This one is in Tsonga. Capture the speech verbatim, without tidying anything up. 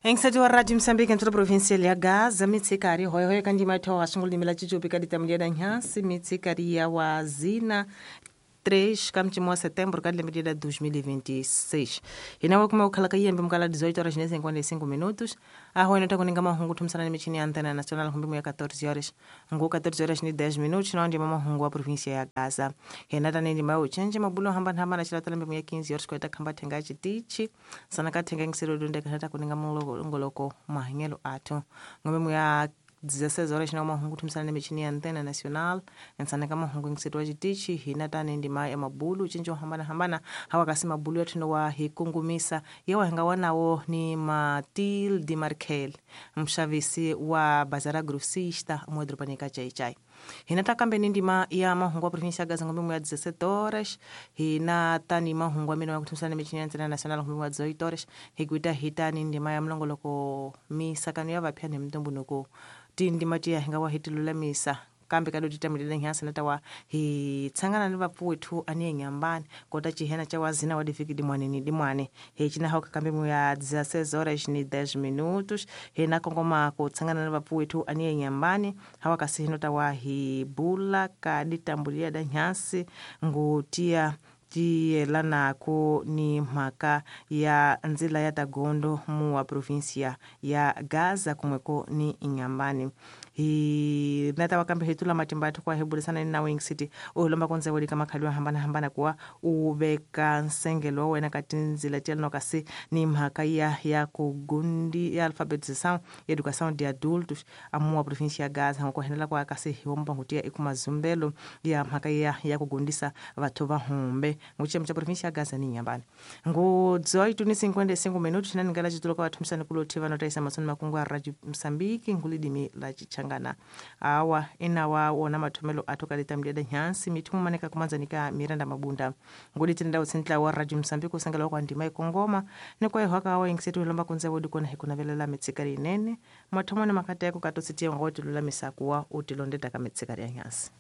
Engsati wa Radio Mozambique ntlo provincial ya Gaza mitsikari hoyo kandi matho wa sungula la chichupi ka ditamuli ya nhansi mitsikari ya wazina três kamtimo wa setembro ka lembe la dois mil e vinte e seis. Hina wa kuma ukhala ka yembe mukala dezoito horas e cinquenta e cinco minutos. A rua nota kuninga mahungu tumsana ni michini ya antena nacional humbi ya quatorze horas. Ngu quatorze horas e dez minutos na onde mahungu wa província ya Gaza. Hina tani ndi mau chenje mabulo hamba hamba na chila lembe ya quinze horas kweta kamba tenga chitichi. Sana ka tenga ngisiro dunde kanata kuninga mongoloko mahengelo ato. Ngombe ya dezesseis horas na mahungu tumsana ni michini ya antena nacional nsanaka mahungu ngisitwa chitichi hina tani ndima ya mabulu chinjo hambana hambana hawa kasi mabulu yetu wa hikungumisa yewa hinga wanawo ni Matilde Markel mshavisi wa bazara grossista mwedropanika chai chai. Hina takambe ni ndima ya mahungu wa província Gaza ngombe ya dezessete horas hina tani mahungu amino kutumsana michini ya antena nacional ngombe ya dezoito horas hikuita hitani ndima ya mlongoloko misakano ya vapya ni mtumbunuko tindima tiya hinga wa hitilulamisa kambe kado titamilile nyansi natawa hi tsangana ni vapfuwethu ani nyambani kota chihena cha wazina wa difiki dimwane ni dimwane he china hoka kambe mu ya dezesseis horas ni dez minutos he na kongoma ko tsangana ni vapfuwethu ani nyambani hawa kasi hino tawa hi bula ka ditambulia da nyansi ngutia tiyelanako ni mhaka ya nzila ya tagondo mu wa província ya Gaza kumweko ni Inhambane. Hi nata wakambe hitula matimba athu kwa hebulisana ni na Wing City uhulomba konze wodi kama khaliwa hambana hambana kuwa ubeka nsengelo wena kati nzila tiyelano kasi ni mhaka ya ya kugundi ya alfabetização ya educação de adultos amu wa província ya Gaza ngokuhenela kwa kasi hiwomba ngutia ikumazumbelo ya mhaka ya ya kugundisa vathu va humbe nguchemu cha província ya Gaza ni Inhambane. Ngu dezoito ni cinquenta e cinco minutos na ningala chitulo kwa thumisana kulothi vanotaisa masoni makungu a Radio Mozambique ngulidimi la chichangana. Awa inawa wona mathomelo athu ka litamleda nyansi mithumu maneka kumanzanika Miranda Mabunda. Nguli tinda utsintla wa Radio Mozambique usangela kwa ndima ikongoma ni kwa ihwaka wa ingsetu lomba kunze wodi kona hikuna velela mitsikari inene mathomo ni makateko katositia ngoti lula misakuwa utilondeta ka mitsikari ya nyansi.